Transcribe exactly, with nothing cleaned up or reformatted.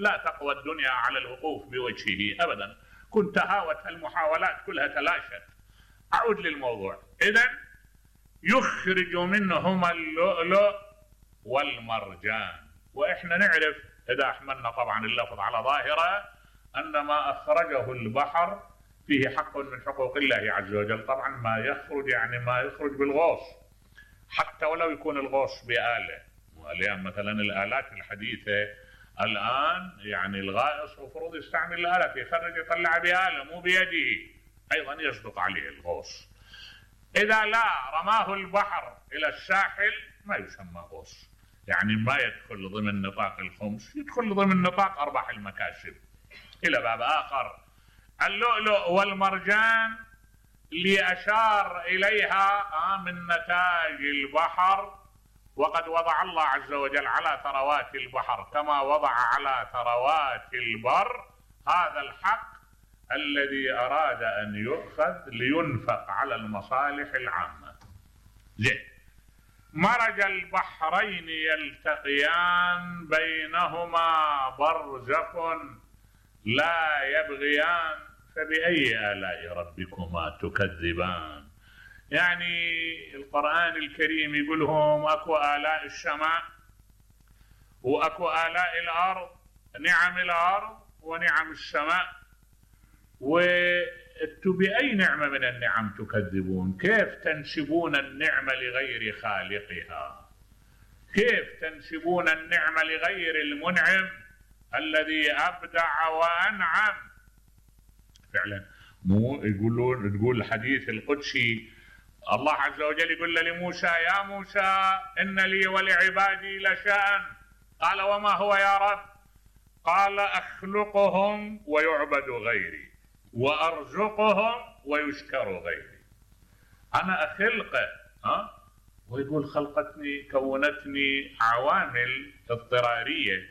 لا تقوى الدنيا على الوقوف بوجهه أبدا. كنت هاوت المحاولات كلها تلاشت. أعود للموضوع. إذن يخرج منهما اللؤلؤ والمرجان. وإحنا نعرف إذا أحملنا طبعا اللفظ على ظاهرة أن ما أخرجه البحر فيه حق من حقوق الله عز وجل. طبعا ما يخرج يعني ما يخرج بالغوص، حتى ولو يكون الغوص بآلة. واليوم مثلا الآلات الحديثة الآن يعني الغائص المفروض يستعمل الآلة يخرج يطلع بآلة مو بيده، أيضا يصدق عليه الغوص. إذا لا رماه البحر إلى الساحل ما يسمى غوص، يعني ما يدخل ضمن نطاق الخمس، يدخل ضمن نطاق أرباح المكاسب. إلى باب آخر، اللؤلؤ والمرجان اللي أشار إليها من نتاج البحر، وقد وضع الله عز وجل على ثروات البحر كما وضع على ثروات البر هذا الحق الذي أراد أن يؤخذ لينفق على المصالح العامة. زين، مرج البحرين يلتقيان بينهما برزخ لا يبغيان فبأي آلاء ربكما تكذبان. يعني القرآن الكريم يقولهم أكو آلاء السماء وأكو آلاء الأرض، نعم الأرض ونعم السماء، وانتم بأي نعمة من النعم تكذبون؟ كيف تنسبون النعمة لغير خالقها؟ كيف تنسبون النعمة لغير المنعم الذي أبدع وأنعم؟ فعلا مو يقولون، تقول الحديث القدسي الله عز وجل يقول لموسى يا موسى إن لي ولعبادي لشأن، قال وما هو يا رب؟ قال أخلقهم ويعبد غيري وأرزقهم ويشكر غيري. أنا أخلقه ها ويقول خلقتني كونتني عوامل اضطرارية